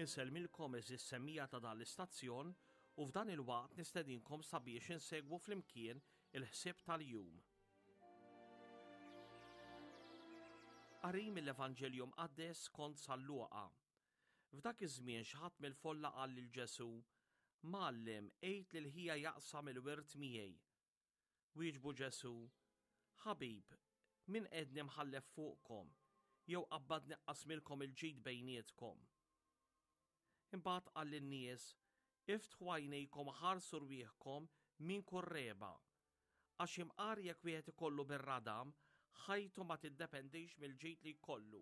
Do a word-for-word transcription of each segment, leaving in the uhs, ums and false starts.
Insellmilkom għeżież semmiegħa ta' dan l-istazzjon u f'dan il-waqt nistedinkom sabiex insegwu flimkien il-ħsieb tal-jum. Qari mill-Evanġelju Mqaddes skont San Luqa. F'dak iż-żmien xi ħadd mill-folla qal lil Ġesù, Mgħallem, għid lil ħija jaqsam il-wirt miegħi. Wieġbu Ġesù, Ħabib, min qegħdni mħallef fuqkom, jew qabbadni qasmilkom il-ġid bejnietkom? Imbagħad qal lin-nies, Iftħu għajnejkom ħarsu rwieħkom minn kull regħba. Għax imqar jekk wieħed ikollu bir-radam, ħajtu ma tiddependix mill-ġid li jkollu.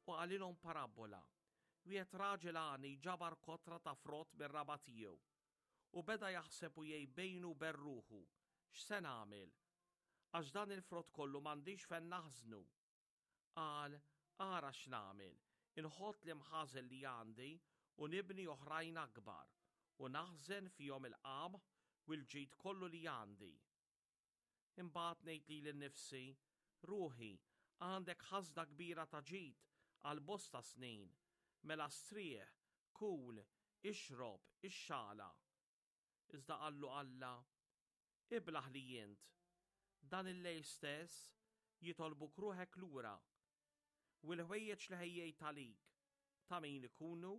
U qalilhom parabbola. Wieħed raġel għani ġabar kotra ta' frott mir-raba' tiegħu. U beda jaħseb u jgħid bejnu u bejn ruħu, x'se nagħmel? Għax dan il-frott kollu m'għandix fejn naħżnu. Qal, ara x'nagħmel, inħott l-imħażen li għandi u nibni oħrajn akbar u naħżen fihom il-qamħ u l-ġid kollu li għandi. Imbagħad ngħid lili nnifsi, ruħi, għandek ħażna kbira ta' ġid għal bosta snin, mela strieħ, kul, ixrob, ixxala. Iżda qallu Alla, iblah li int, dan il-lejl stess jitolbuk ruħek lura, u l-ħwejjeġ li ħejjejt għalik ta' min ikunu?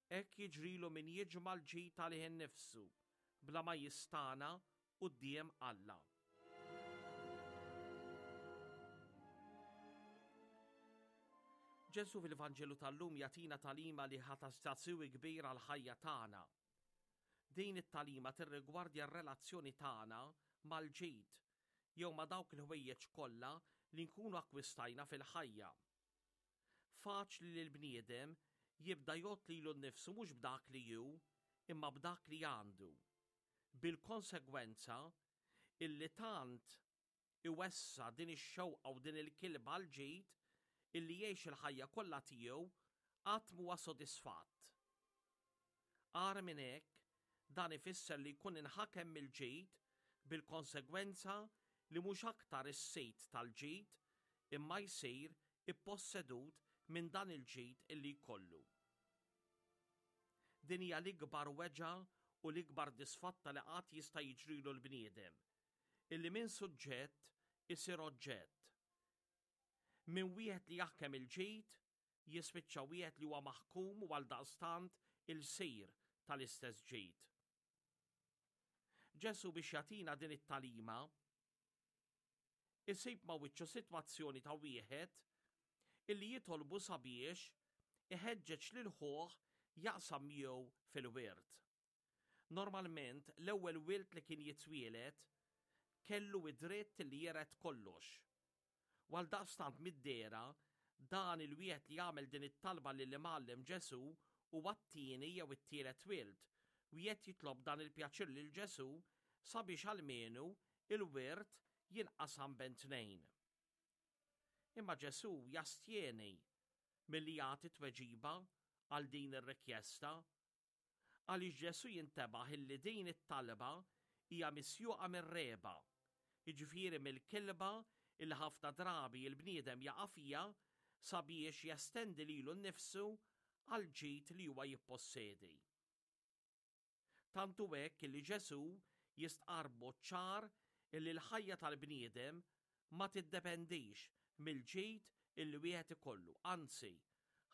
Hekk jiġrilu min jiġma' l-ġid għalih innifsu bla ma jistana quddiem Alla. Ġesù fil-Vanġelu tal-lum jagħtina tagħlima li ħa ta' siwi kbir għall-ħajja tagħna. Din it-tagħlima tirrigwardja r-relazzjoni tagħna mal-ġid jew ma' dawk il-ħwejjeġ kollha li nkunu akkwistajna fil-ħajja. Faċli li l-bniedem jibda jgħodd lilu nnifsu mhux b'dak li hu, imma b'dak li għandu. Bil-konsegwenza illi tant iwessa' din ix-xewqa u din il-kilba għall-ġid illi jgħix il-ħajja kollha tiegħu qatt m'huwa sodisfatt. Agħar minn hekk, dan ifisser li jkun inħakem mill-ġid bil-konsegwenza li mhux aktar is-sid tal-ġid imma jsir ippossedut minn dan il-ġid illi jkollu. Din hija l-ikbar weġgħa u l-ikbar disfatta li qatt jista' jiġrilu l-bniedem, illi minn suġġett isir oġġett. Minn wieħed li jaħkem il-ġid jispiċċa wieħed li huwa maħkum u għaldaqstant il-sir tal-istess ġid. Ġesù biex jagħtina din it-tagħlima isib ma' wiċċu sitwazzjoni ta' wieħed illi jitolbu sabiex iħeġġeġ lil ħuh jaqsam miegħu fil-wirt. Normalment l-ewwel wild li kien jitwieled kellu id-dritt li jiret kollox. U għaldaqstant mid-dehra dan il-wieħed li jagħmel din it-talba lill-Imgħallem Ġesù huwa t-tieni jew it-tielet wild u qed jitlob dan il-pjaċir lil Ġesù sabiex almenu il-wirt jinqasam bejn tnejn. Imma Ġesù jastjeni milli jagħti tweġiba għal din ir-rikjesta, għaliex Ġesù jintebaħ illi din it-talba hija misjuqa mir-regħba, jiġifieri mill-kilba illi ħafna drabi l-bniedem jaqa' fiha sabiex jestendi lilu nnifsu għal ġid li huwa jippossedi. Tant hu hekk illi Ġesù jistqarr b'mod ċar illi l-ħajja tal-bniedem ma tiddependix mill-ġid illi wieħed ikollu, anzi,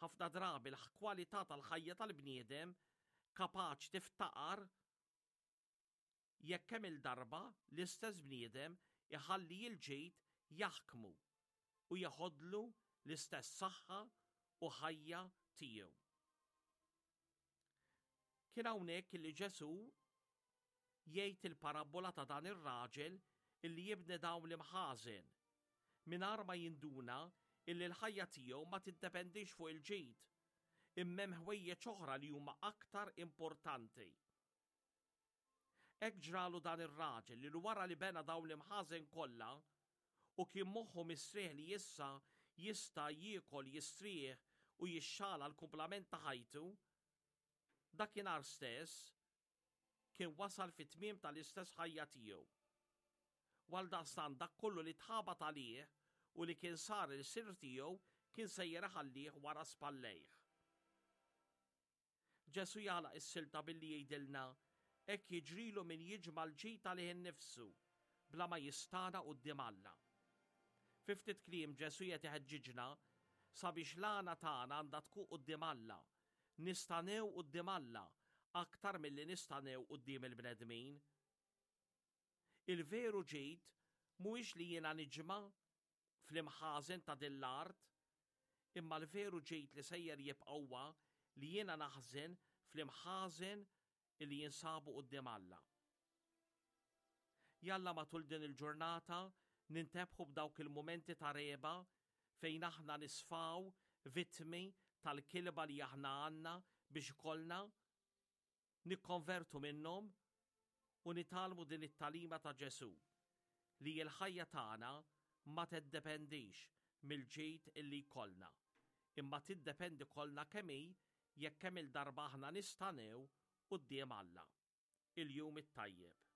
ħafna drabi l-kwalità tal-ħajja tal-bniedem kapaċi tiftaqar jekk kemm il-darba l-istess bniedem iħalli l-ġid jaħkmu u jeħodlu l-istess saħħa u ħajja tiegħu. Kien hawnhekk illi Ġesù jgħid il-parabbola ta' dan ir-raġel illi jibni dawn l-imħażen mingħajr ma jinduna illi l-ħajja tiegħu ma tiddependix fuq il-ġid, imma hemm ħwejjeġ oħra li huma aktar importanti. Hekk ġralu dan ir-raġel li wara li bena dawn l-imħażen kollha u kien moħħu mistrieħ li issa jista' jiekol, jistrieħ u jixxala l-kumplament ta' ħajtu, dakinhar stess kien wasal fit-tmiem tal-istess ħajja tiegħu. U għaldaqstant dak kollu li tħabat għalih u li kien sar il-sir tiegħu kien sejjer iħallih wara spallejh. Ġesù jagħlaq is-silta billi jgħidilna hekk jiġrilu min jiġma' l-ġid għalih innifsu bla ma jistagħna quddiem Alla. Fi ftit kliem Ġesù qed iħeġġiġna sabiex l-għana tagħna għandha tkun quddiem Alla, nistagħnew quddiem Alla aktar milli nistagħnew quddiem il-bnedmin. Il-veru ġid mhuwiex li jiena niġma' fl-imħażen ta' din l-art, imma l-veru ġid li sejjer jibqa' huwa li jiena naħżen fl-imħażen li jinsabu quddiem Alla. Jalla matul din il-ġurnata nintebħu b'dawk il-mumenti ta' regħba fejn aħna nisfaw vittmi tal-kilba li aħna għandna biex ikollna nikkonvertu minnhom u nitgħallmu din it-tagħlima ta' Ġesù li l-ħajja tagħna ma tiddependix mill-ġid illi jkollna, imma tiddependi kollha kemm hi jekk kemm il-darba aħna nistagħnew quddiem Alla. Il-jum it-tajjeb.